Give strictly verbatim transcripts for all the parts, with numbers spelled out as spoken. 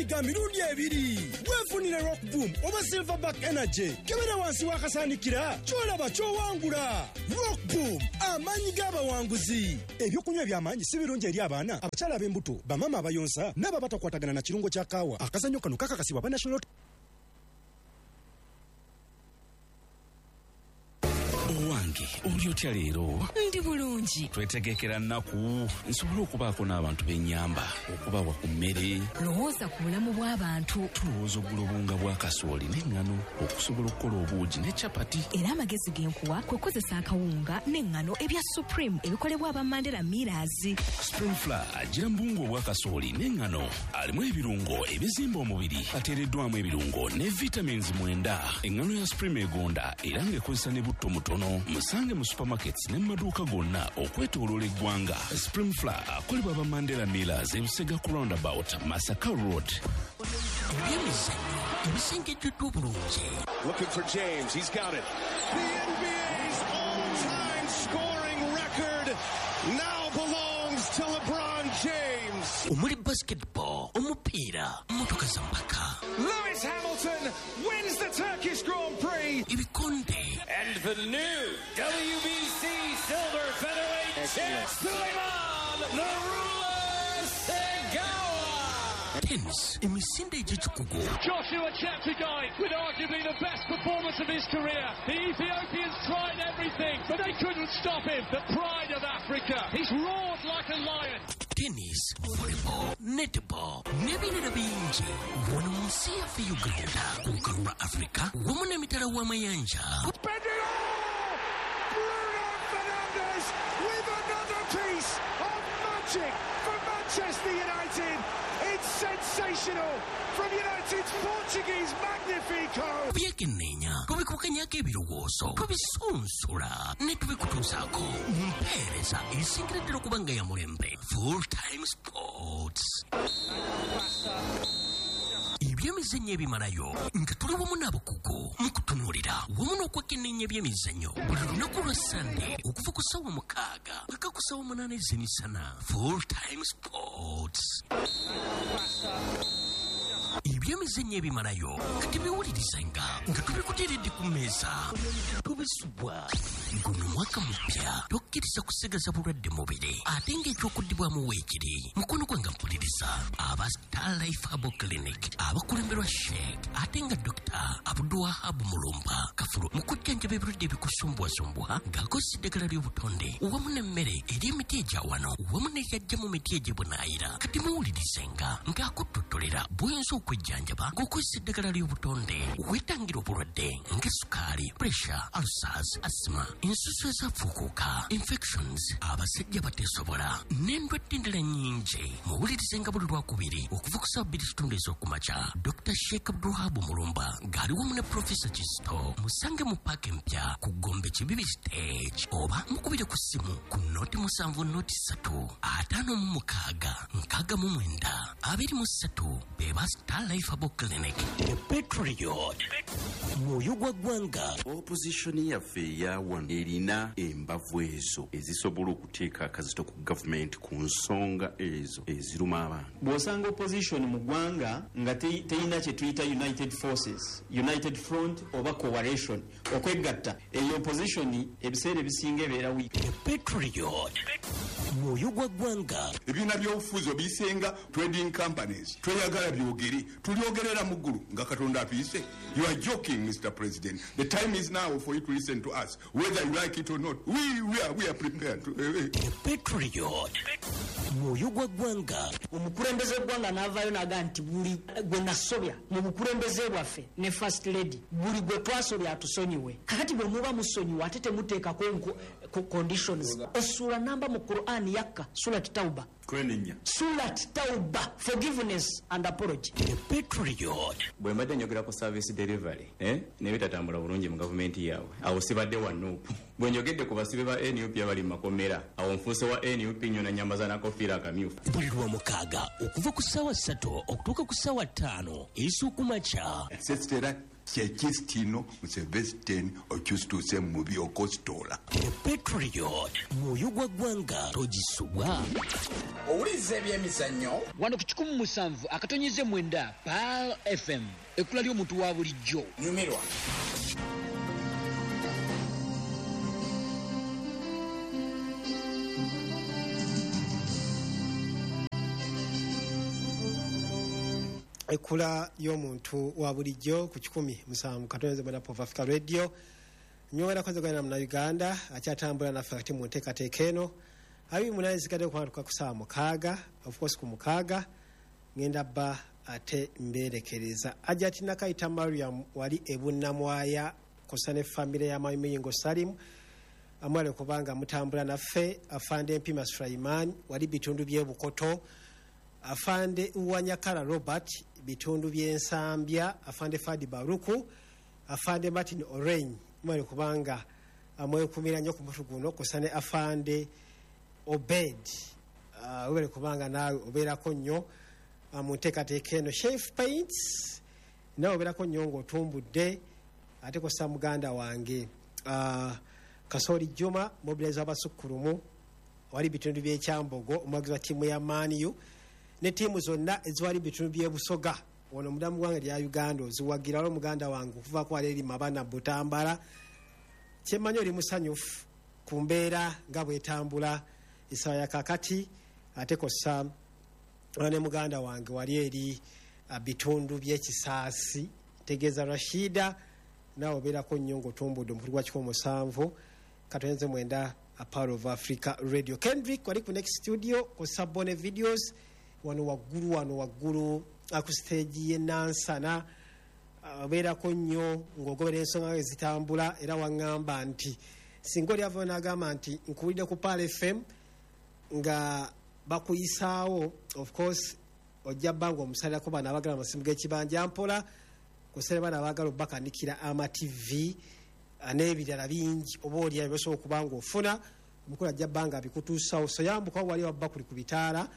ga mirundi ebiri. Weefunire Rock Boom oba Silverback Energy. Kebera wansi w'akasaanikira ky'olaba ky'owangula. Rock Boom, amaanyi g'abawanguzi. Ebyokunywa eby'amaanyi si birungi eri abaana, abakyala ab'embuto, bamaama abayonsa n'abo abatakwatagana na kirungo kya kaawa. Akazannyo kano kakakasibwa aba National. Owange, oli otya leero? Ndi bulungi. Twetegekera nnaku nsobole okubaako n'abantu b'ennyamba, okubawa ku mmere. Lowooza ku bulamu bw'abantu. Tulowooza ogula obuwunga bwa kasooli n'eŋŋano okusobola okukola obuugi ne capati. Era amagezi ge nkuwa kwe kukozesa akawunga n'eŋŋano ebya Supreme ebikolebwa aba Mandela Millers. Supreme Flour agira mu buwunga obwa kasooli n'eŋŋano, alimu ebirungo ebizimba omubiri, ateereddwamu ebirungo ne vitamins mwenda. Eŋŋano ya Supreme egonda era ng'ekozesa ne butto mutono. Musange mu supermarkets ne mu maduuka gonna okwetooloola eggwanga. Supreme Flour akolebwa aba Mandela Millers, Ebusega ku roundabout, Masaka Road. Ebyemizannyo ebisengejjeddwa obulungi. Looking for James. He's got it. The N B A's all-time scoring record now belongs to LeBron James. Omuli basketball, omupiira, motoka za mpaka. Lewis Hamilton wins the Turkish Grand Prix. Ebikonde. And the new W B C Silver Featherweight Champ, Sulaiman the Ruler Segawa. Tennis, emisinde egy'ekikugu. Joshua Cheptegei with arguably the best performance of his career. The Ethiopians tried everything, but they couldn't stop him. The pride of Africa. He's roared like a lion. Tennis, volleyball, netball n'ebirala bingi wano mu nsi yaffe Uganda, ku lukalu lwa Afrika wamu n'emitala w'amayanja. Spend it all! Bruno Fernandes with another piece of magic for Manchester United. It's sensational from United's Portuguese Magnifico. Tubyekenneenya, tubikubaganyako ebirowoozo, tubisunsula ne tubikutuusaako mu mpeereza esingira ddala okuba nga ya mulembe. Full Time Sports, ebyemizannyo ebimalayo nga tuli wamu n'abakugu mu kutunuulira wamu n'okwekenneenya ebyemizannyo buli lunaku lwa Sande okuva ku ssaawa mukaaga paka ku ssaawa munaana ez'emisana. Full Time Sports, ebyemizannyo ebimalayo nga tebiwulirizanga nga tubikuteeredde ku mmeeza, tubisubwa. Guno mwaka mupya, tokkiriza kusigaza bulwadde mubiri ate ng'ekyokuddibwamu weekiri. Mukono gwange mpuliriza, aba Star Life Herbal Clinic abakulemberwa Sheikh ate nga Dokita Abduwahabu Mulumba Kafulu mu kujjanjaba ebirwadde ebikusumbuwasumbuwa ng'akozesa eddagala ly'obutonde wamu n'emmere eri emiti egya wano wamu n'eyajja mu miti egy'ebunaayira. Kati muwulirizenga ng'akuttotolera bw'oyinza okwejjanjaba ng'okozesa eddagala ly'obutonde, weetangira obulwadde nga sukaali, pressure, ulcers, asthma, ensusu ezafuukuuka, infections, abasajja bateesobola n'endwadde endala nnyingi. Muwulirizenga buli lwakubiri okuva ku ssaawa bbiri kitundu ez'okumakya, Dokita Sheikh Abdulwahabu Mulumba ng'ali wamu ne Profesa Kisto. Musange mu paaka empya ku Gombe Kibibi Stage, oba mukubire ku ssimu ku noti musanvu noti ssatu ataano mu mukaaga nkaaga mu mwenda abiri mu ssatu. Be ba Star Life Herbal Clinic. The Patriot, mwoyo gwa ggwanga. Opposition yaffe eya wano erina embavu ezo ezisobola okuteeka akazito ku gavumenti ku nsonga ezo eziruma abantu. Bw'osanga opposition mu ggwanga nga te- teyina kye tuyita united forces, united front oba coalition, okwegatta, eyo opposition ebiseera ebisinga ebeera weak. The Patriot, mwoyo gwa ggwanga. Ebibiina by'obufuzi obiyisenga trading companies. Tweyagala byogere, tulyogerera mu ggulu nga Katonda atuyise. You are joking, Mister President. The time is now for you to listen to us, whether you like it or not. we, we, are, we are prepared to, uh, The Patriot, mwoyo gwa ggwanga. Omukulembeze w'eggwanga n'avaayo n'agaa nti buli gwe nasobya mu bukulembeze bwaffe ne First Lady, buli gwe twasobya atusonyiwe. Kakati bwe muba musonyiwa ate temuteekako nko- ko- conditions. Essuula namba mu Quran yakka, Surat Tauba. Kwenenya. Surat Tauba, forgiveness and apology. The Patriot. Bwe mbadde njogera ku service delivery, eh, nebitatambula bulungi mu gavumenti yaabwe, awo sibadde wa N U P. Bwe njogedde ku basibe ba N U P abali mu makomera, awo nfuuse wa N U P nnyo nanyambaza nakofiira akamyufu. Buli lwomukaaga okuva ku ssaawa ssatu okutuuka ku ssaawa ttaano ez'okumakya. Sesitera. Kyekistino Museveni okyusituse mu byokositola. The Patriot, mwoyo gwa ggwanga togisubwa. Owuliriza ebyemizannyo wano ku kikumi musanvu akatonyize mwenda Pearl F M, ekkula ly'omuntu wa bulijjo. Nyumirwa. Ekkula y'omuntu wa bulijjo ku kikumi musanvu katonze mwenda Pop Africa Radio. Nyongera kozegana na Uganda akyatambula naffe ate mu nteekateeka eno. Abiri munaani zigadde okutuuka ku ssaawa mukaaga, of course ku mukaaga ngenda bba ate mbeerekereza. Ajati Nakayita Mariam wali e Bunnamwaya kosa ne famire ya Muyingo Salim amwale kubanga mutambula naffe. Afande Mpima Sulaiman wali bitundu by'e Bukoto, Afande Uwanyakara Robert bitundu by'Ensambya, Afande Fadi Baruku, Afande Martin Oreny mwale kubanga amwekumira nnyo ku mutu guno kosa ne Afande Obed uh, webale kubanga naawe obeerako nnyo uh, mu nteekateeka eno. Chef Paints nawe obeerako nnyo ng'otumbudde, ate kosa muganda wange uh, Kasoli Juma mobilizer w'abasukkulumu wali bitundu by'Ekyambogo, omuwagizi wa ttiimu ya Man U ne ttiimu zonna eziwali bitundu by'e Busoga wano munda mu ggwanga lya Uganda oziwagira. Waliwo muganda wange okuvaako wali eri Mabana Butambala, kyemmanyi oli musanyufu ku mbeera nga bw'etambula essaawa ya kaakati. Ate kosa ne muganda wange wali eri bitundu by'Ekisaasi, ntegeeza Rashida, naawe obeerako nnyo ng'otumbudde omukulu gwa kikumi musanvu katonze mwenda a Power of Africa Radio. Kendrick wali ku Next Studio kosa Bone Videos wano waggulu wano waggulu ku stage y'e Nansana, obeerako nnyo ng'ogobera ensonga ezitambula. Era waŋŋamba nti singa oli avayo n'agamba nti nkuwulidde ku Pearl F M nga bakuyisaawo, of course ojja bba ng'omusalirako bano abaagala amasimu g'ekibanja mpola, kusale bano abaagala obbakanikira ama T V n'ebirala bingi oba oli ebyo osobola okuba ng'ofuna omukulu ajja bba nga abikutuusawo. So yambuka wali wabba kuli ku bitaala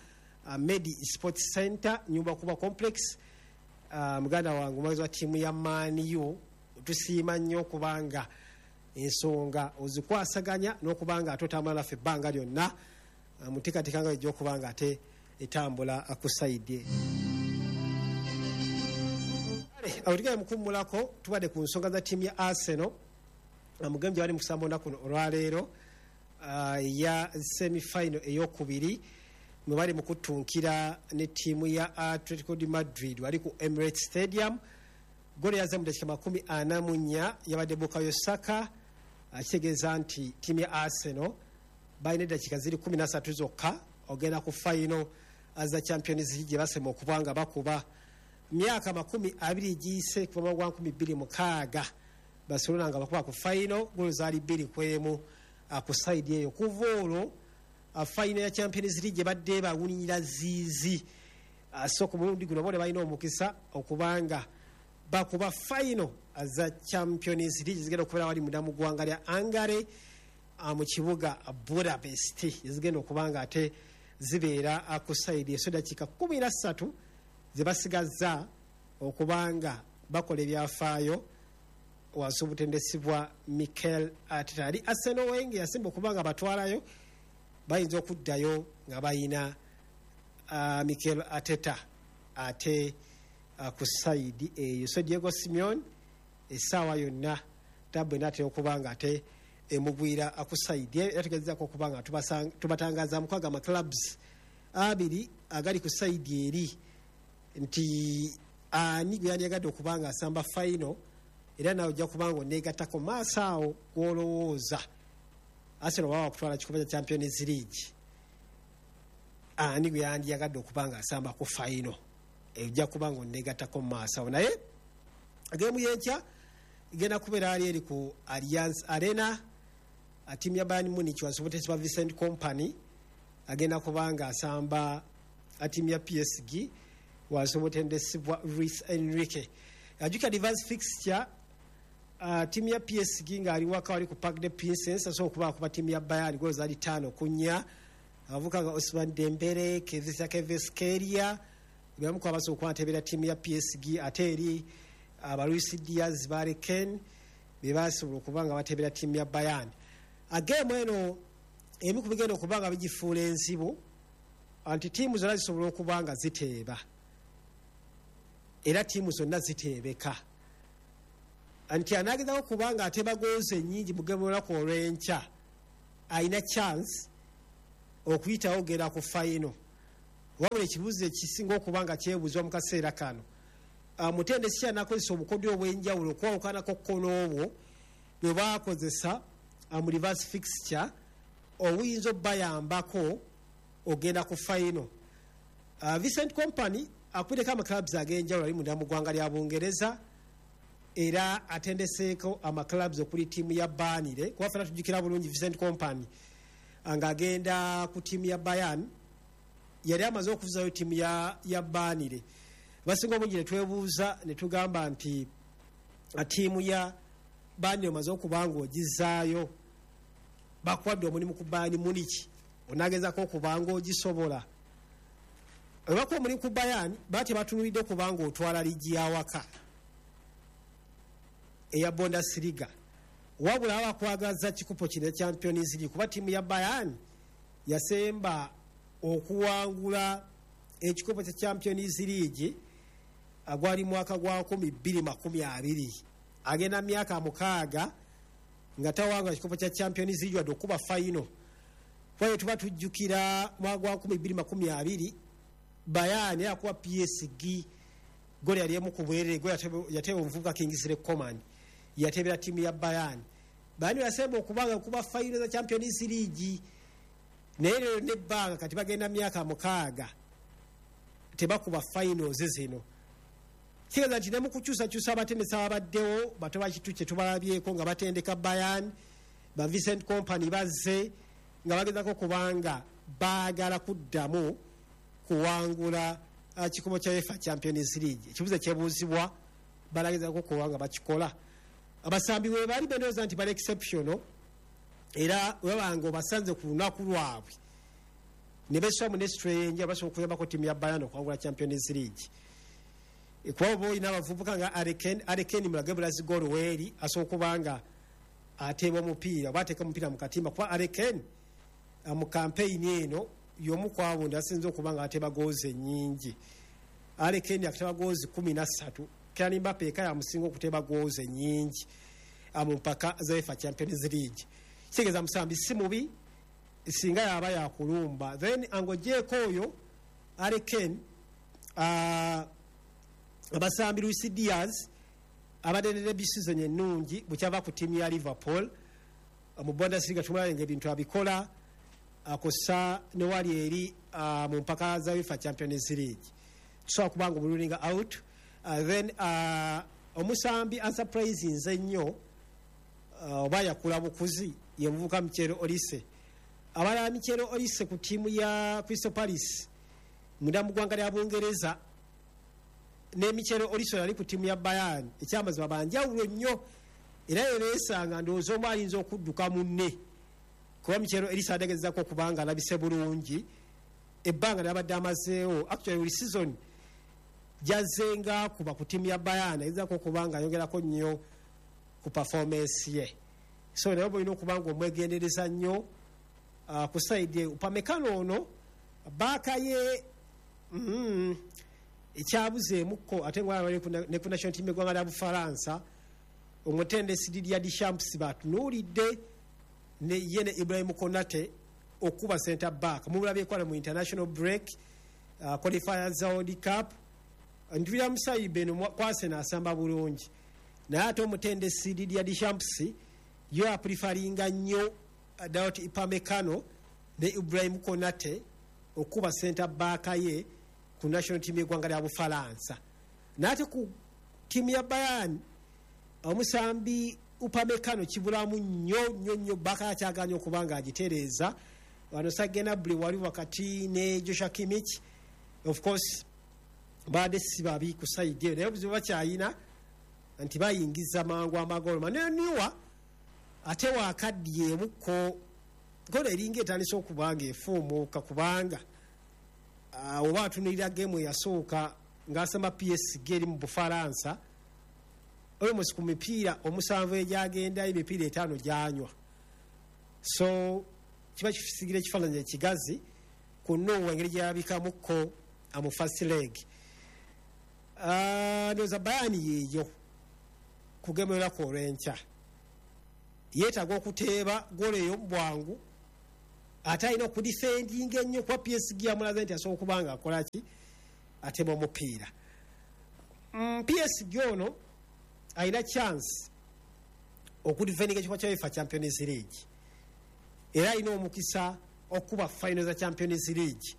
uh, Medi Sports Center nyumba kuba complex. Uh, muganda wange omuwagizi wa ttiimu ya Man U, tusiima nnyo kubanga ensonga ozikwasaganya n'okubanga ate otambula naffe ebbanga lyonna uh, mu nteekateeka nga ejja okuba nga ate etambula ku sayidi. Awo tugenda mukummulako, tubadde ku nsonga za ttiimu ya Arsenal mu game gye bali mu kusamba olunaku olwaleero eya uh, semi-final eyokubiri mwe bali mu kutunkira ne ttiimu ya Atletico de Madrid wali ku Emirates Stadium. Ggoolo yazze mu dakiika makumi ana mu nnya yabadde Bukayo Saka, akitegeeza nti ttiimu ya Arsenal balina eddakiika ziri kumi na ssatu zokka ogenda ku final za Champions League gye basema okuba nga bakuba. Myaka makumi abiri giyise kuva mu gwa nkumi bbiri mukaaga Barcelona nga bakuba ku final, ggoolo zaali bbiri ku emu ku sayidi eyo. Kuva olwo final ya Champions League ebadde bawunyira ziizi, so ku mulundi guno bo ne balina omukisa okubanga bakuba final za Champions League zigenda okubeera wali munda mu ggwanga lya Hungary mu kibuga Budapest, zigenda okuba nga ate zibeera ku sayidi eso. Dakiika kkumi na ssatu ze basigazza okubanga bakola ebyafaayo wansi obutendesi bwa Mikel Arteta. Ali Arsenal Wenger yasemba okuba nga batwalayo, bayinza okuddayo nga bayina uh, Mikel Arteta ate uh, ku sayidi eyo. So Diego Simeone essaawa yonna tabu enaatera okuba nga ate emugwira ku sayidi eyo. Era tugezezaako okuba nga tubatangaza mukwaga ama clubs abiri agali ku sayidi eri nti ani gwe yandiyagadde okuba nga asamba final, era nawe ojja kuba nga oneegattako maaso awo gw'olowooza Arsenal baba bakutwala kikopo kya Champions League, ani gwe yandiyagadde okuba nga asamba ku final, ojja kuba nga oneegattako maaso awo. Naye geemu y'enkya egenda kubeera ali eri ku Allianz Arena, ttiimu ya Bayern Munich wansi w'obutendesi bwa Vincent Kompany agenda kuba nga asamba ttiimu ya P S G wansi w'obutendesi bwa Luis Enrique. Ajjukira advance fixture uh, ttiimu ya P S G ng'ali waka wali ku Parc des Princes asobola okuba akuba ttiimu ya Bayern ggoolo zaali ttaano ku nnya. Abavubuka nga Ousmane Dembele, Kevin Kvaratskhelia bebamu ku abasobola okuba nteebera ttiimu ya P S G. Ate eri Aba Luis Diaz, Barry Kane be basobola okuba nga bateebera ttiimu ya Bayern. Ageemu eno emu ku bigenda okuba nga bigifuula enzibu anti ttiimu zonna zisobola okuba nga ziteeba, era ttiimu zonna ziteebeka, anti anaagezako okuba nga ateeba goozi ennyingi mu geemu olunaku olw'enkya alina chance okuyitawo ogenda ku fayino. Wabula ekibuuzo ekisinga okuba nga kyebuuzibwa mu kaseera kano, mutendesi ki anaakozesa obukodyo obw'enjawulo okwawukanako kkono obwo bwe baakozesa mu reverse fixture obuyinza obbayambako ogenda ku fayino? Vincent Kompany akubiddeko amaclubs ag'enjawulo, ali munda mu ggwanga lya Bungereza era atendeseeko amaclubs okuli ttiimu ya Burnley, kuba ffenna tujjukira bulungi Vincent Kompany ng'agenda ku ttiimu ya Bayern yali amaze okuvuzayo ttiimu ya, ya Burnley. Basinga obungi ne twebuuza ne tugamba nti ttiimu ya Burnley omaze okuba ng'ogizaayo, bakuwadde omulimu ku Bayern Munich, onaagezako okuba ng'ogisobola? Webakuwa omulimu ku Bayern, baba tebatunuulidde okuba ng'otwala liigi y'awaka eya Bundesliga, wabula baba bakwagaza kikopo kino ekya Champions League, kuba ttiimu ya Bayern yasemba okuwangula ekikopo kya Champions League gwali mwaka gwa nkumi bbiri makumi abiri, agenda myaka mukaaga nga tawangula kikopo kya Champions League wadde okuba fayino. Kuba tuba tujjukira mwaka gwa nkumi bbiri makumi abiri Bayern yakuba P S G goli yali emu ku bwerere, goli yateeba omuvubuka Kingsley Coman, yateebera ttiimu ya Bayern. Bayern yasemba okubanga okuba fayino za Champions League, naye leero nebbanga kati bagenda myaka mukaaga tebakuba finals zino. Kitegeeza nti ne mu kukyusakyusa abatendesi ababaddewo bato bakitu kye tubalabyeko nga batendeka Bayern, ba Vincent Kompany bazze nga bagezako kubanga baagala kuddamu kuwangula kikopo kya UEFA Champions League. Ekibuuzo kyebuuzibwa balagezako kubanga bakikola. Abasambi we bali bendowooza nti bali exceptional, era webanga obasanze ku lunaku lwabwe ne beswamu ne strange basobola okuyambako ttiimu ya Bayern okuwangula Champions League. Kuba oba olina abavubuka nga Harry Kane, Harry Kane mulage bulazi goolo weeri asobola okuba nga ateeba omupiira oba ateeka omupiira mu katimba, kuba Harry Kane mu kampeyini eno y'omu ku abo asinze okuba nga ateeba goozi ennyingi. Harry Kane akateeba goozi kkumi na ssatu, Kylian Mbappe eka yamusinga okuteeba goozi ennyingi mu mpaka za UEFA Champions League. Kitegeeza musambi si mubi singa yaba yakulumba. Then ang'ogyeko oyo Harry Kane, uh, abasambi Luis Diaz abadde ne debut season ennungi bukyava ku ttiimu ya Liverpool mu Bundesliga, tumulabe ng'ebintu abikola akosa ne wali eri uh, mu mpaka za UEFA Champions League, tusobola kuba nga omululinga out. uh, then uh, omusambi unsurprisinze ennyo oba uh, yakula bukuzi ye muvubuka Michel Olise. Abalala Michel Olise ku ttiimu ya Crystal Palace munda mu ggwanga lya Bungereza ne Michel Olise yali ku ttiimu ya Bayern, ekyamazima banjawulo nnyo, era yebeesanga ndowooza omu ayinza okudduka munne, kuba Michel Olise ategeezako okubanga alabise bulungi ebbanga lyabadde amazeewo. Actually buli season gyazzenga akuba ku ttiimu ya Bayern agezaako okuba nga ayongerako nnyo ku performance ye, so naye oba olina okuba nga omwegendereza nnyo uh, ku side Upamecano ono baaka ye mm, ekyabuzeemukko ate nga ne ku national team eggwanga lya Bufalansa omutendesi Didier Deschamps batunuulidde ne ye ne Ibrahim Konate okuba center back. Mubulabyeko wano mu international break uh, qualifiers za World Cup Ndwira Musayibe eno kwase n'asamba bulungi, naye ate omutendesi Didier Deschamps yo aprefaringa nnyo Dayot Upamecano ne Ibrahim Konate okuba center back ye ku national team y'eggwanga lya Bufalansa. Naye ate ku ttiimu ya Bayern omusambi Upamecano kibulamu nnyo nnyo nnyo, baka akyaganye okuba nga agitereeza. Wano Serge Gnabry wali wakati ne Joshua Kimmich, of course baadde si babi ku sayidi eyo, naye obuzibu bakyayina nti bayingiza mangu amagolo. Manuel Neuer ate waakaddyemukko goolo eringa etandise okuba nga efuumuuka, kubanga uh, oba atunuulira geemu eyasooka ng'asamba P S G eri mu Bufalansa Almost ku mipiira omusanvu egyagenda, emipiira etaano gyanywa. So kiba kisigira ekifaananyi ekigazi ku Noah engeri gyeyabikamuko mu first leg. Ah, ndowooza Bayern yeeyo kugemerako olw'enkya, yeetaaga okuteeba goolo eyo mu bwangu, ate alina okudifendinga ennyo kuba P S G yamulaze nti asobola okuba nga akola ki, atema omupiira. mm, P S G ono alina chance okudifendinga ekifo kya UEFA Champions League, era alina omukisa okuba final za Champions League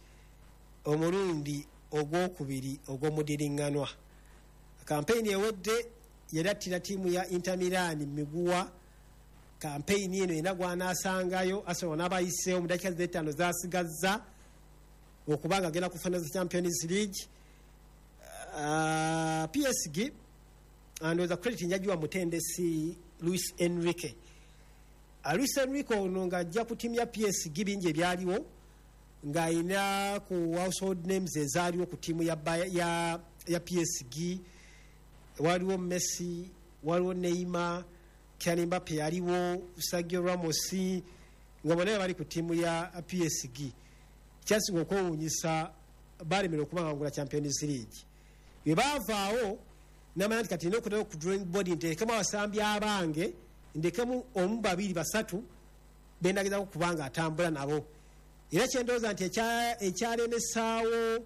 omulundi ogwokubiri ogw'omudiriŋŋanwa. Kampeyini ewedde yali attira ttiimu ya Inter Milan miguwa. Kampeyini eno erina gwanaasangayo Arsenal n'abayiseewo mu dakiika z'ettaano zasigazza okuba nga agenda ku final za Champions League. uh, P S G ndowooza credit njagiwa mutendesi Luis Enrique. uh, luis Enrique ono ng'ajja ku ttiimu ya P S G, bingi ebyaliwo ng'alina ku household names ezaaliwo ku ttiimu ya, ya, ya P S G. Waliwo Messi, waliwo Neymar, Kylian Mbappe yaliwo, Sergio Ramos, nga bonna bali ku ttiimu ya P S G. Kyasinga okwewuunyisa, balemera okubangangula Champions League. Bwe baavaawo namanya nti kati nina okuddayo ku drawing board, nteekemu abasambi abange, ndekemu omu, babiri, basatu bendagezako kubanga atambula nabo. Era kyendowooza nti ekyalemesaawo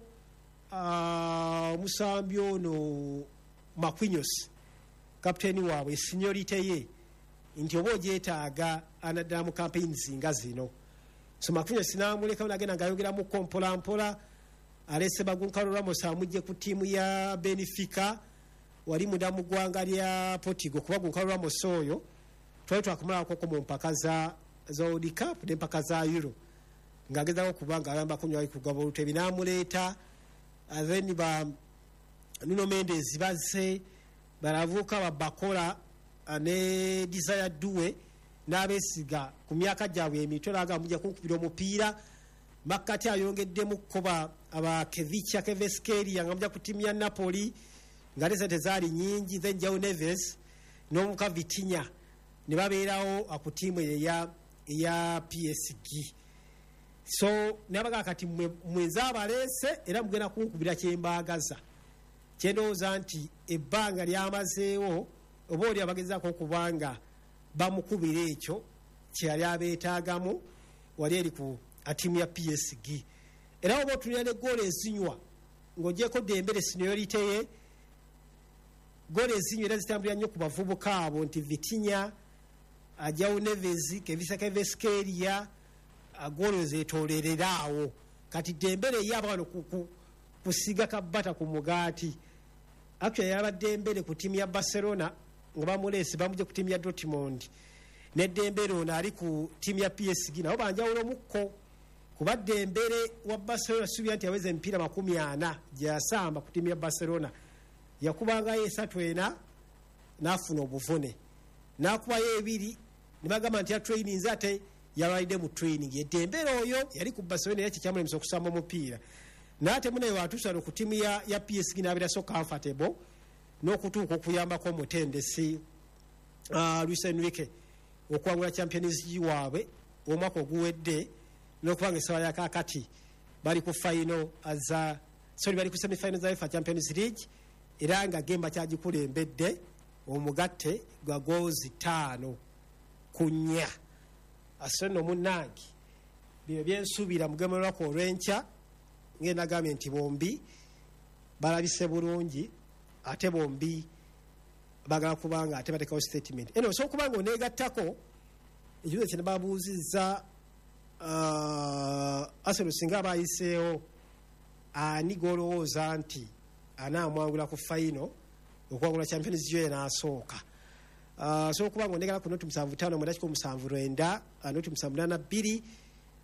omusambi ono Marquinhos, kapiteeni waabwe, seniority ye nti oba ogyetaaga anaddala mu campaigns nga zino. So Marquinhos namulekawo nagenda ngaayongeramuko mpola mpola. Alese ba Goncalo Ramos, amugje ku ttiimu ya Benfica wali munda mu ggwanga lya Portugal, kuba Goncalo Ramos oyo twali twakumalakoko mu mpaka za za World Cup n'empaka za Euro, ng'agezaako kuba nga ayambako nyo ali kugaba olutebi n'amuleeta. Then ba Nuno Mendes bazze balavuka babakola ne Desire Doue n'abeesiga ku myaka gyabwe emito, naga mujja kunkubira omupiira. Makkati ayongeddemu kuba aba Khvicha Kvaratskhelia nga mujja ku ttiimu ya Napoli, nga ne sente zaali nyingi. Then Joao Neves n'omuka Vitinha ne babeerawo ku ttiimu eya eya P S G. So nabaga kati mwenza abaleese era mugenda kunkubira kyembaagaza. Kyendowooza nti ebbanga lyamazeewo oba oli abagezaako okubanga bamukubira ekyo kyeyali abeetaagamu wali eri ku tiimu ya P S G. Era oba otunira ne goolo ezinywa, ng'ogyeko Dembele seniority ye, goolo ezinywa era zitambulira nnyo ku bavubuka abo nti Vitinha, Joao Neves, Khvicha Kvaratskhelia, goolo zeetolerera awo. Kati Dembele ye aba wano kusiga kabata ku mugaati. Actually yaba Dembele ku ttiimu ya Barcelona nga bamuleese bamugye ku ttiimu ya Dortmund, ne Dembele ono ali ku ttiimu ya P S G nabo banjawulo mukko, kuba Dembele wa Barcelona suubira nti yaweza emipiira makumi ana gye yasamba ku ttiimu ya Barcelona, yakubangayo esatu ena n'afuna obuvune, n'akubayo ebiri ne bagamba nti yatraininze, ate yalwalidde mu training. Dembele oyo yali ku Barcelona era kyekyamulemesa okusamba omupiira, naye ate munaye watuusa ku ttiimu ya, ya P S G n'abeera so comfortable n'okutuuka okuyambako omutendesi uh, Luis Enrique okuwangula Champions League waabwe omwaka oguwedde, n'okubanga essaawa ya kaakati bali ku final za, sorry, bali ku semifinal za UEFA Champions League, era nga gemba kyagikulembedde omugatte gwa goals ttaano ku nnya. Ase nno munnange, bino byensuubira mugemerwako olw'enkya. Ngenda nti bombi balabise bulungi, ate bombi bagala kubanga ate batekawo statement eno. Osobola okuba nga oneegattako ekibuzo kye babuuzizza uh, Arsenal singa abayiseewo, ani gw'olowooza nti anaamwangula ku final okuwangula Champions League n'asooka? Osobola okuba nga onegala ku noti musanvu ttaano mwenda kikumi musanvu lwenda, noti musanvu nana bbiri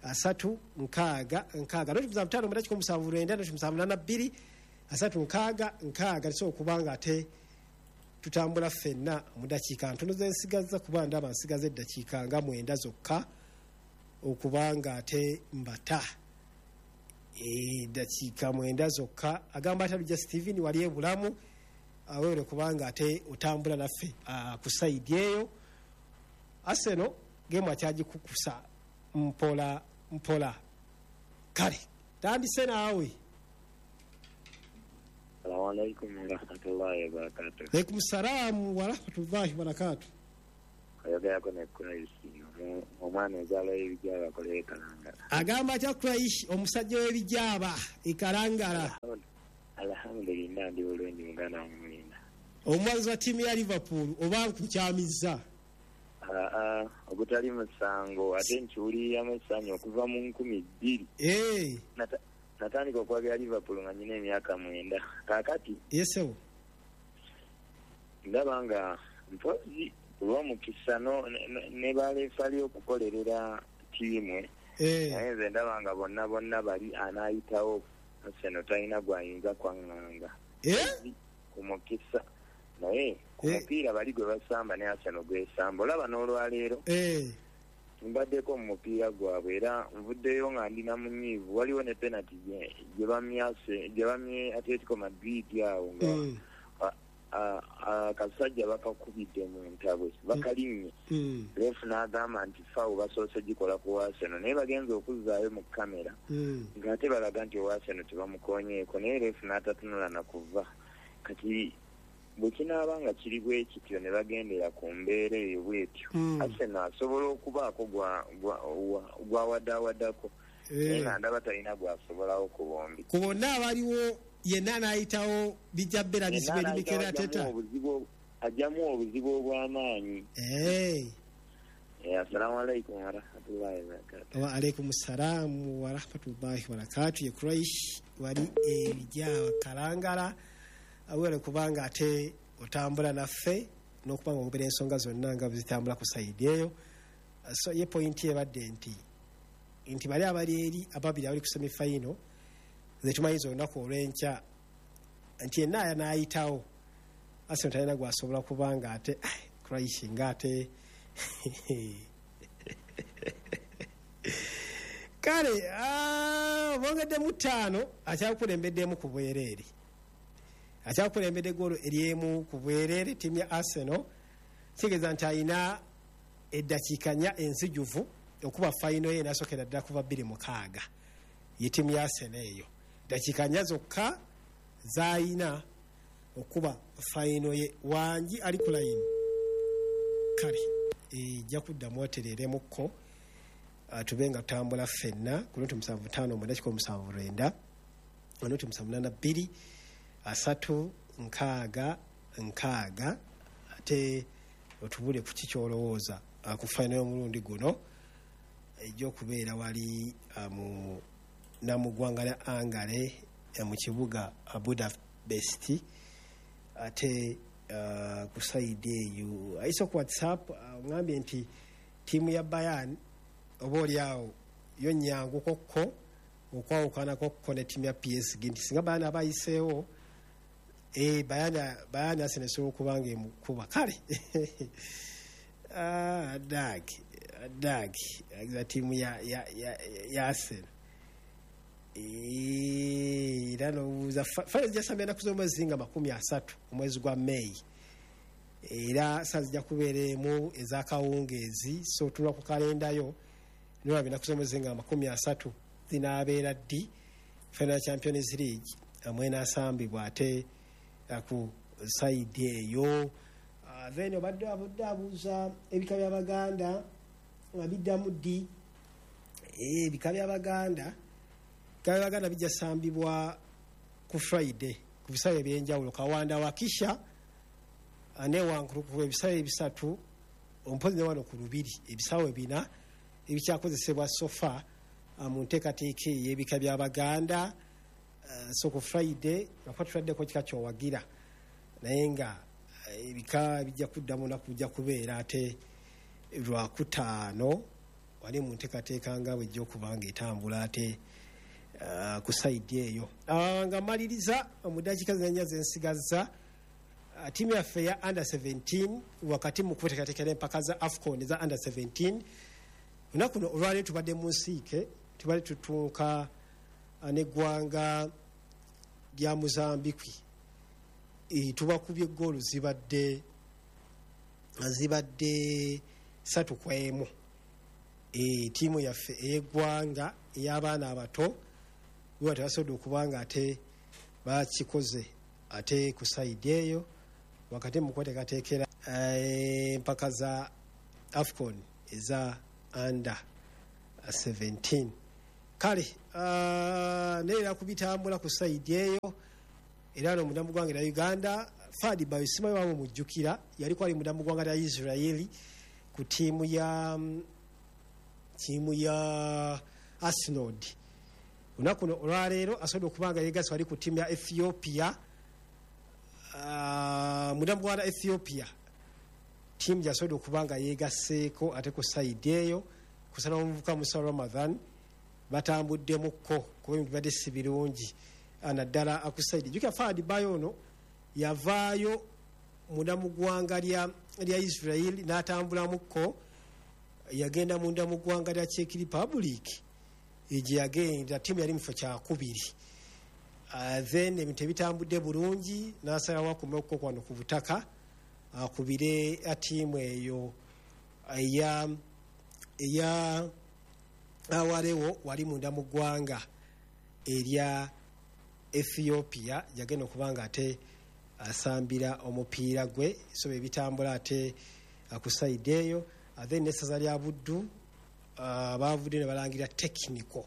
asatu nkaaga nkaaga, noti musanvu ttaano mwenda kikumi musanvu lwenda, noti musanvu nana bbiri asatu nkaaga nkaaga. Tusobola okuba nga ate tutambula ffenna mu dakiika ntono zensigaza, kuba ndaba nsigaza eddakiika nga mwenda zokka okuba nga ate mbata, eddakiika mwenda zokka. Agamba ate Lujja Steven wali ebulamu, Awere kubanga ate otambula naffe uh, ku side eyo. Arsenal game akyagikukusa mpola mpola. Kale tandise naawe. Assalamu alaikum warahmatullahi wabarakatuh. Alaikum salam warahmatullahi wabarakatuh. Ayogerako ne Kuraishi, omwana enzaalwa y'ebijaaba akolera e Kalangala. Agamba atya Kuraishi, omusajja w'ebijaaba e Kalangala? Alhamdulillah, ndi bulungi muganda wange Mulinda. Omuwagizi wa ttiimu ya Liverpool oba nkukyamizza? Aa, ogutali musango ate nkiwuliriramu essanyu okuva mu nkumi bbiri. Ee. Natandika okwagira Liverpool nga nnyina emyaka mwenda. Kaakati Yesewo. Ndaba nga mpozi olw'omukisa ne baleefali okukolerera ttiimu. Naye nze ndaba nga bonna bonna bali anaayitawo Arsenal talina gw'ayinza kwaŋŋanga. Ku mukisa. Naye ku mupiira bali gwe basamba ne Arsenal gwesamba. Olaba n'olwaleero mbaddeko mu mupiira gwabwe era nvuddeyo nga ndi na munyiivu. Waliwo ne penalty gye bamyase gye bamye Atletico Madrid awo nga akasajja bakakubidde mu ntabwe bakalinnye. Refu n'agamba nti foul basoose gikola ku Arsenal naye bagenze okuzzaayo mu kamera ng'ate balaga nti owa Arsenal tebamukoonyeeko naye refu n'atatunula na kuva. Kati bwe kinaaba nga kiri bwe kityo ne bagendera ku mbeera eyo bw'etyo, Arsenal asobola okubaako gw'awadaawadako naye nga ndaba talina gw'asobolawo ku bombi. Ku bonna abaliwo yenna n'ayitawo bijja bbeera bizibu eri Mikel Arteta. Ajjamu obuzibu obw'amaanyi. Assalamu alaikum warahmatullahi wabarakatuh. Wa alaikum salaam warahmatullahi wabarakatuh. Ye Kuraish wali ebijja Kalangala. Awere kubanga ate otambula naffe n'okubanga ogoberera ensonga zonna nga zitambula ku sayidi eyo. So ye pointi ebadde nti nti bali abali eri ababiri abali ku semifinal ze tumanyiza olunaku olw'enkya nti yenna anaayitawo Arsenal talina gw'asobola kubanga ate Kuraishi ng'ate kale bongeddemu ttaano akyakulembeddemu ku bwereere. Akyakulembedde ggoolo eryemu ku bwereere ttiimu ya Arsenal kitegeeza nti alina eddakiika nnya enzijuvu okuba fayino ye enasookera ddala kuva bbiri mukaaga ye ttiimu ya Arsenal eyo. Ddakiika nnya zokka z'alina okuba fayino ye. Wangi ali ku layini. Kale ejja kuddamu otereremukko tube nga tutambula ffenna ku noti musanvu ttaano mwenda kikumi musanvu lwenda noti musanvu munaana bbiri asatu nkaaga nkaaga ate otubule ku kikyolowooza ku fayino y'omulundi guno ejja okubeera wali mu namuggwanga lya Hungary mu kibuga Budapest ate ku sayidi eyo. Ayise ku WhatsApp ongambye nti ttiimu ya Bayern oba oliawo yo nnyangu kokko okwawukanako kokko ne ttiimu ya P S G nti singa Bayern abayiseewo eh Bayern Bayern Arsenal esobola okuba nga emukuba. Kale ah dag dag agiza ttiimu ya ya ya Arsenal era n'obuuza fayino zijja sambya ennaku z'omwezi nga makumi asatu omwezi gwa May era saa zijja kubeera emu ez'akawungeezi. So tunula ku kalendayo nolaba ennaku z'omwezi nga makumi asatu zinaabeera ddi final Champions League mwenaasambibwa ate ku sayidi eyo. Then obadde abudde abuuza ebika by'Abaganda nga biddamu ddi. Ebika by'Abaganda ebika by'Abaganda bijja sambibwa ku Friday ku bisaawe ebyenjawulo. Kawanda Wakisha ne Wankulukuku ebisaawe ebisatu ompozi ne wano ku Lubiri ebisaawe bina ebikyakozesebwa sofa mu nteekateeka ey'ebika by'Abaganda. So ku Friday lwakuba tuladdeko kika kyowagira naye nga ebika bijja kuddamu naku bijja kubeera ate lwakutaano wali mu nteekateeka nga bwejja okuba nga etambula ate uh, ku sayidi eyo. Uh, nga mmaliriza mu ddakiika zinnya zensigazza uh, ttiimu yaffe ya under seventeen wakati mu kuteekateekera empaka za AFCON eza under seventeen olunaku luno olwaleero tubadde mu nsiike tubadde tutunka n'eggwanga lya Mozambique. E, tubakubye goolu zibadde zibadde satu kwa emu. E, tiimu yaffe ey'eggwanga ey'abaana abato bwe tebasobodde okuba nga ate bakikoze ate ku sayidi eyo wakati mu kweteekateekera empaka za AFCON eza under seventeen. Kale uh, neera kubitambula ku sayidi eyo era no munda mu ggwanga lya Uganda Fadi Bayo simanyi wamu mujjukira yaliko ali munda mu ggwanga lya Israeli ku ttiimu ya ttiimu ya Arsenal. Olunaku luno olwaleero asobodde okuba nga yeegasse wali ku ttiimu ya Ethiopia, uh, munda mu ggwanga lya Ethiopia ttiimu gy'asobodde okuba nga yeegasseeko ate ku sayidi eyo kusala omuvubuka Musa Ramadhan batambuddemukko kuba ebintu bibadde si birungi naddala ku sayidi. Jjukira Fadi Bayo ono yavaayo munda mu ggwanga lya lya Israel n'atambulamukko, yagenda munda mu ggwanga lya Czech Republic gye yagenda ttiimu yali mu kifo kyakubiri. Uh, then ebintu ebitambudde bulungi n'asalawo akomekko wano ku butaka akubire ttiimu eyo eya eya awalewo wali munda mu ggwanga erya Ethiopia yagenda okuba nga ate asambira omupiira gwe so bye bitambula ate ku sayidi eyo. Then n'essaza lya Buddu uh, bavudde ne balangira technical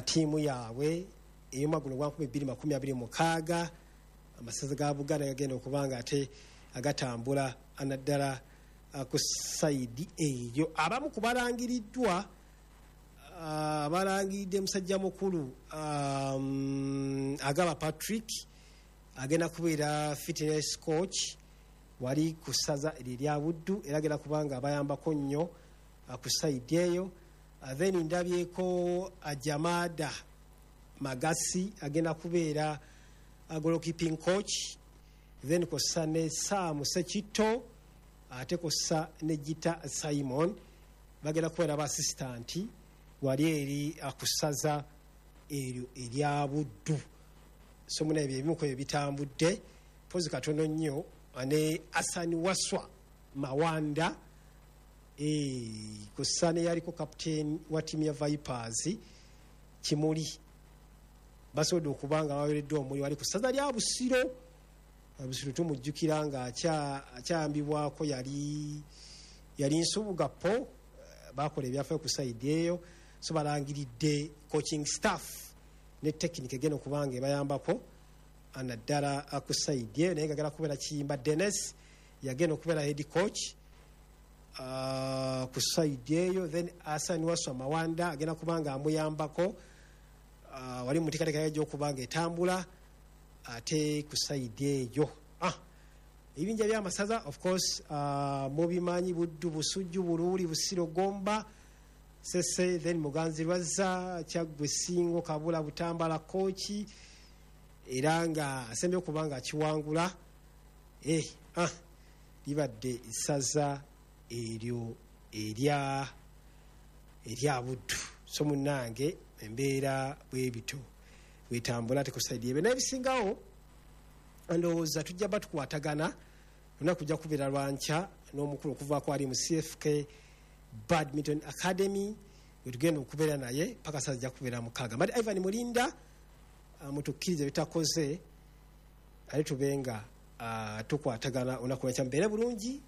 ttiimu yaabwe ey'omwaka guno gwa nkumi bbiri makumi abiri mukaaga. Amasaza ga Buganda gagenda okuba nga ate agatambula naddala ku sayidi eyo. Abamu ku balangiriddwa uh, balangiridde musajja mukulu um, Agaba Patrick agenda kubeera fitness coach wali ku ssaza erya Buddu era agenda kuba nga abayambako nnyo ku sayidi eyo. Then ndabyeko Ajamada Magasi agenda kubeera goalkeeping coach, then kossa ne Sam Sekito ate kossa ne Gita Simon bagenda kubeera ba assistant wali eri akusaza eryo erya Buddu. So muna ebyo ebimu ku ebyo bitambudde pozi katono nnyo ne Asani Waswa Mawanda eh kossa ne yaliko captain wa ttiimu ya Vipers Kimuli basobodde okuba nga baweereddwa omulimu wali ku ssaza lya Busiro. Busiro tumujjukira nga akyayambibwako yali yali Nsubuga po bakola ebyafaayo ku sayidi eyo. So balangiridde coaching staff ne technique egenda okuba nga ebayambako naddala ku sayidi eyo, naye nga agenda kubeera Kiyimba Dennis yagenda okubeera head coach uh, ku sayidi eyo. Then Asani Waswa Mawanda agenda kuba nga amuyambako uh, wali mu nteekateeka egy'okuba nga etambula ate ku sayidi eyo. Ah, ebibinja by'amasaza of course uh, mubimanyi Buddu, Busujju, Buluuli, Busiro, Gomba, Sese, then Muganzi Lwazza, Kyaggwe, Ssingo, Kabula, Butambala, Kooki era nga asembye okuba nga akiwangula. Eh, ah, libadde ssaza eryo erya erya Buddu. So munnange embeera bw'ebito bwetambula ate ku sayidi ebyo. Naye ebisingawo ndowooza tujja batukwatagana lunaku kujja kubeera lwankya n'omukulu okuvaako ali mu C F K Badminton Academy wetugenda okubeera naye paka saa zijja kubeera mukaaga. Mbadde Ivan Mulinda, mutukkirize bitakoze ate tube nga tukwatagana olunaku lwankya. Mubeere bulungi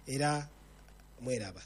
era mweraba.